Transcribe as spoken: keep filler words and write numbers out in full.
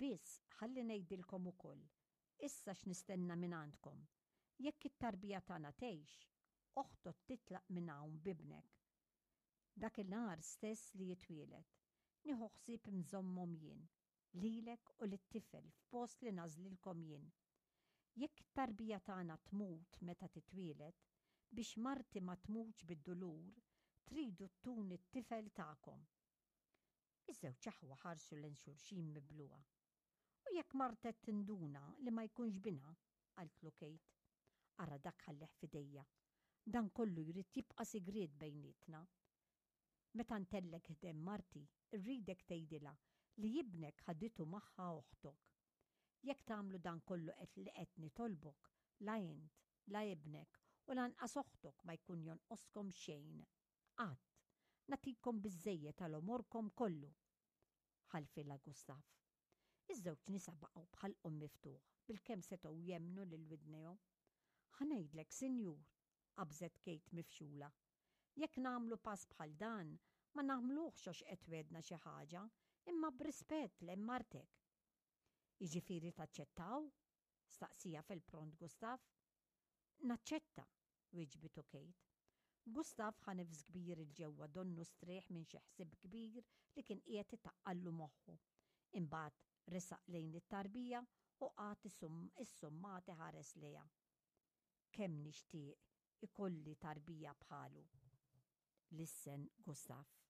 Biss ħalli ngħidilkom ukoll, issa x'nistenna minn għandkom. Jekk it-tarbija tagħna tgħix, oħtok titlaq minn hawn b'ibnek. Dak il-nhar stess li jitwieled, nieħu ħsieb nżommhom jien, lilek u lit-tifel f'post li nagħżlilkom jien. Jekk it-tarbija tagħna tmut meta titwieled, biex marti ma tmutx bid-dulur, tridu ttuni t-tifel tagħkom. Iż-żewġ aħwa ħarsu lejn xulxin mibluha. U jekk martek tinduna li ma jkunx binha, qaltlu Kate. Ara dak ħallih f'idejja. Dan kollu jrid jibqa' sigriet bejnietna. Meta ntellgħek ħdejn marti, irridek tgħidilha li ibnek ħaditu magħha oħtok. Jekk tagħmlu dan kollu qed li qed nitolbok, la int, la ibnek u lanqas oħtok ma jkun jonqoskom xejn. Qatt, nagħtikom biżżejjed għal għomorkom kollu. Ħalfilha Gustav. Iż-żewġ nisa baqgħu b'ħalqhom miftuħ, bilkemm setgħu jemmnu lil widnejhom. Ħa ngħidlek, sinjur, qabżet Kate mifxula. Jekk nagħmlu pass bħal dan, ma nagħmluhx għax qed twegħedna xi ħaġa, imma b'rispett lejn martek. Jiġifieri taċċettaw? Staqsieha fil-pront Gustav. Naċċetta, wieġbitu Kate. Gustav ħa nifs kbir 'il ġewwa donnu strieħ minn xi ħsieb kbir li kien qiegħed itaqqallu moħħu. Imbagħad resaq lejn it-tarbija u qagħad issummat iħares lejha. Kemm nixtieq ikolli tarbija bħalu. Lissen Gustav.